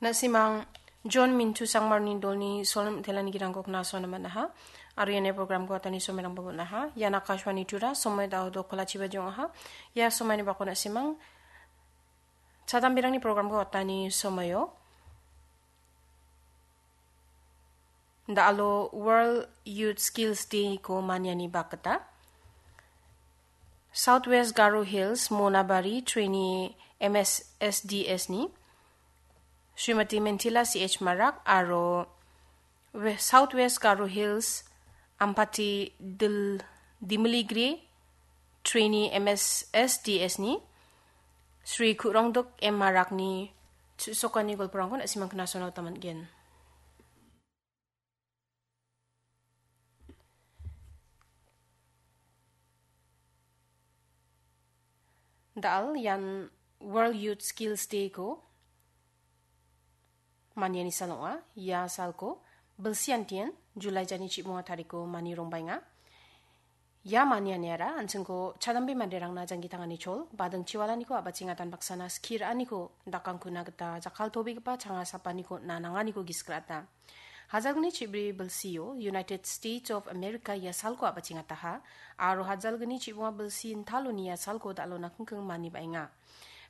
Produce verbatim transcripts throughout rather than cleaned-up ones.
Na·simang John Mintu Sangmarni dolni solem itelani girangko knasoana man·aha. Aro iani programko atani somerangba bon·aha. Ian Akashvani Tura, somoi dao dokolachiba jong·aha. Ia somaini bako na·simang chadamberangni programko atani somoio. Da·alo World Youth Skills Day-ko maniani bakgita Southwest Garo Hills Monabari Trainee M S S D S-ni Srimati Mentila C H Marak aro We-, Southwest Garo Hills Ampati Dil-, Dimiligri Trainee M S S D S-ni Sri Kurongduk M Marakni chu·sokani golporangko na·simang knasoana gita man·gen. Da·al ian World Youth Skills Day-ko maniani sal ong·a. Ia salko bilsiantien July jani chibonga tariko mani rongbaenga. Ia manianiara an·chingko chadambe manderangna janggi tangani chol, bading chiwalaniko a·bachengatan baksana skie ra·aniko dakangkuna gita jakkaltobegipa changa sapaniko nananganiko gisik ra·ata. Hajalgni chibri bilsio United States of America ia salko a·bachengataha, aro hajalgni chibonga bilsi intaloni ia salko da·alona kingking mani ba·enga.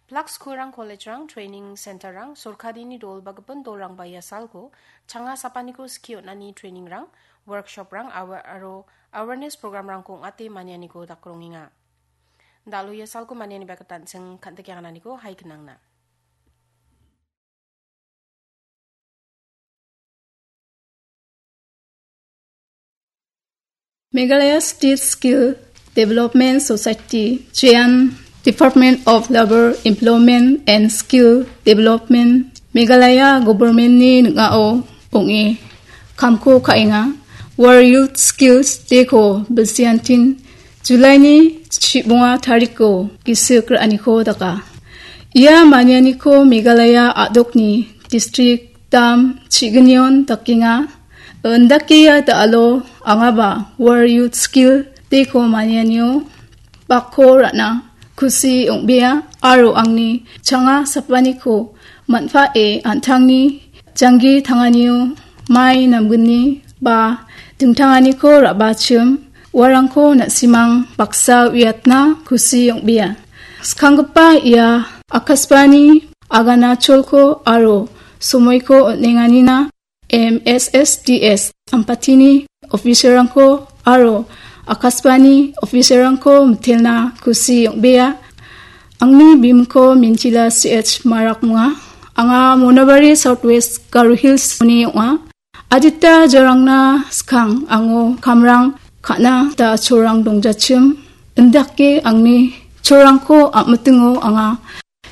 Plak skulrang, kolejrang, training centerrang, sorkarini dol ba gipin dolrangba ia salko changa sapaniko skie on·ani trainingrang, workshoprang, awa-, aro awareness programrangko ong·ate manianiko dakrongenga. Da·alo ia salko maniani bakgitanching kan·tikengananiko hai gnangna. Meghalaya State Skill Development Society, Jain Department of Labour, Employment and Skill Development, Meghalaya Government-ni ning·ao ong·e kamko ka·enga. World Youth Skills Day-ko bilsiantin July-ni chibonga tariko gisik ra·aniko daka. Ia manianiko Meghalaya a·dokni district dam chignion dakenga. Indake ia da·alo angaba World Youth Skill Day-ko manianio bakko ra·na kusi ong·bea aro angni changa sapaniko man·pae an·tangni janggi tanganio mai namgni ba dingtanganiko ra·bachim uarangko na·simang baksa uiatna kusi ong·bea. Skanggipa ia Akashvani agana cholko aro somoiko on·enganina M S S D S Ampatini officerrangko aro Akashvani officerrangko mitelna kusi ong·bea. Angni bimingko Mintila C H Marak ong·a. Anga Monabari Southwest Garo Hills-oni ong·a. Adita jarangna skang ango kamrang ka·na da cholrang dongjachim. Indake angni cholrangko a·mitingo anga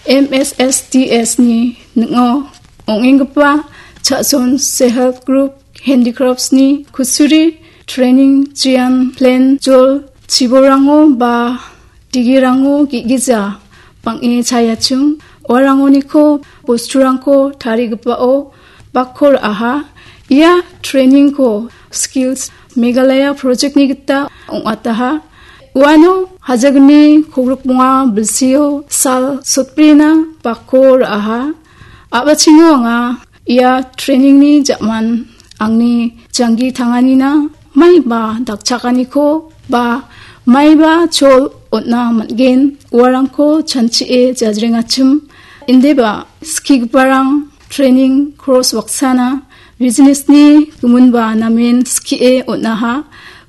M S S D S-ni ning·o ong·enggipa Chason Self Help Group, Handicrafts-ni kutturi, training, jian, plan, jol, chibolrango ba digirango ge·gija bang·e chayachim. Uarangoniko bosturangko tarigipao bakko ra·aha. Ia training-ko Skills Meghalaya project-ni gita ong·ataha. Uano hajalgni kogrikbonga bilsio sal sotbrina bakko ra·aha. A·bachengo anga ia training-ni ja·man angni janggi tanganina maiba dakchakaniko ba maiba chol on·na man·gen, uarangko chanchie jajrengachim. Indeba skigiparang training course baksana business-ni giminba namen skie on·aha.